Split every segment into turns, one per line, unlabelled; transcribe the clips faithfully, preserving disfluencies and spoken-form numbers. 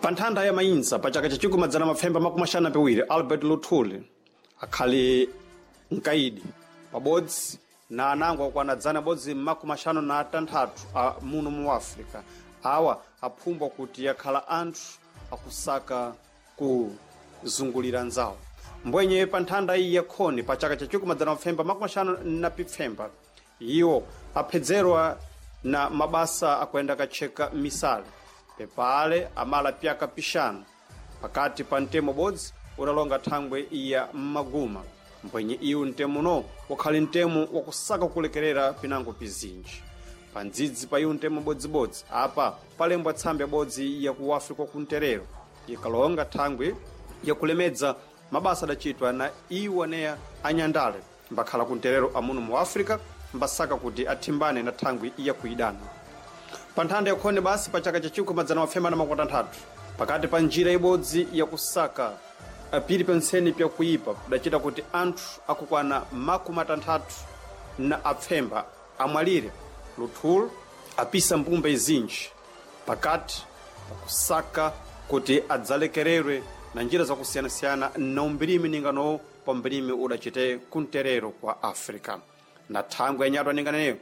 Pa nthanda ya mayinsa pa chaka cha chikumi madzana mapfemba makumi axanu na piwiri, Albert Luthuli akhali mkaidi pabodzi na anango akwana dzana bodzi makumi axanu na atanthatu a muno mu Africa. Awa aphumbwa kuti yakhala anthu akusaka kuzungulira nzawo. Mbwenye pa nthanda iyi yakhoni pa chaka cha chikumi madzana mapfemba makumi axanu na pipfemba, iwo aphedzerwa na mabasa akuyenda katcheka misale pepale amala pyaka pixanu pakati pa mtemo bodzi udalonga thangwe ya mmaguma. Mbwenye iwu mtemo uno wakhali mtemo wakusaka kulekerera pinango pizinji. Pa ndzidzi pa iwu mtemo bodzibodzi apa palembwa tsambe bodzi ya ku Africa kunterero ikalonga thangwe yakulemedza mabasa adachitwa na iwo aneya anyandale mbakhala kunterero amuno mu Africa mbasaka kuti athimbane na thangwi yakuidana. Pa nthanda yakhone basi pa chaka cha chikumi madzana mafema na makumi atanthatu, pakati pa njira ibodzi yakusaka pili pentseni pyakuipa kudachita kuti anthu akukwana makumi atanthatu na apfemba amwalire. Luthuli apisa mbumba izinji pakati pakusaka kuti adzalekererwe na njira zakusiyanasiyana na umbirimi ninganowo pa mbirimi udachite kunterero kwa Africa. Na thangwe yanyatwa ninganeyo,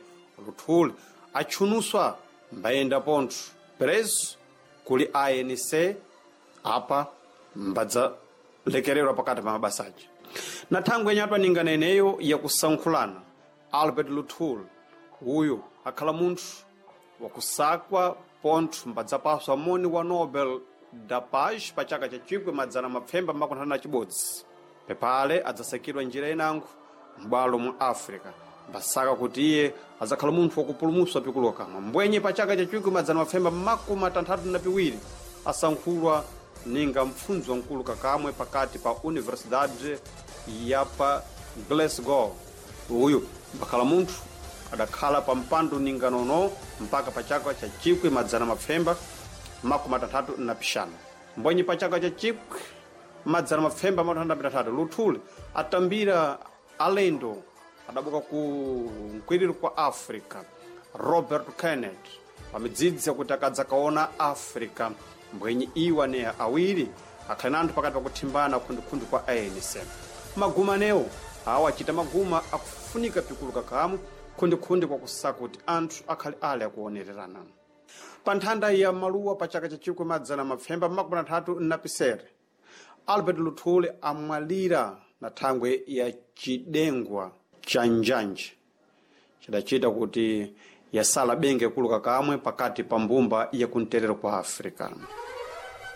Luthuli atchunuswa mbayenda pontho preso kuli A N C apa mbadzalekererwa pakati pa mabasaja. Na thangwe yanyatwa ninganeneyo yakusankhulana, Albert Luthuli uyu akhala munthu wakusakwa pontho mbadzapaswa moni wa Nobel da Paz pa chaka cha chikwi madzana mapfemba makumi na chibodzi. Pepale adzasakidwa njira inango m'bwalo mu Africa mbasaka kuti iye adzakhala munthu wakupulumuswa pikuluka kamwe. Mbwenye pa chaka cha chikwi madzana mapfemba makumi atanthatu na piwiri asankhulwa ninga mpfundzi wamkulu kakamwe pakati pa Universidade ya pa Glasgow. Uyu mbakhala munthu adakhala pa mpando ninganono mpaka pa chaka cha chikwi madzana mapfemba makumi atanthatu na pixanu. Mbwenye pa chaka cha chikwi madzana mapfemba makumi atanthatu na pitanthatu, Luthuli atambira alendo adabuka ku mkwiriro kwa Africa Robert Kennedy pamidzidzi yakuti akadzakaona Africa. Mbwenye iwo aneya awiri akhali na anthu pakati pakuthimbana khundikhundhi kwa A N C. Maguma anewo awo achita maguma akufunika pikulu kakamu khundikhundhi kwakusaka kuti anthu akhali ali akuonererana. Pa nthanda ya maluwa pa chaka cha chikwi madzana mapfemba makumi atanthatu na pisere, Albert Luthuli amwalira na thangwe ya chidengwa cha njanje chidachita kuti yasala benge kuluka kamwe pakati pa mbumba yakunterero kwa Africa.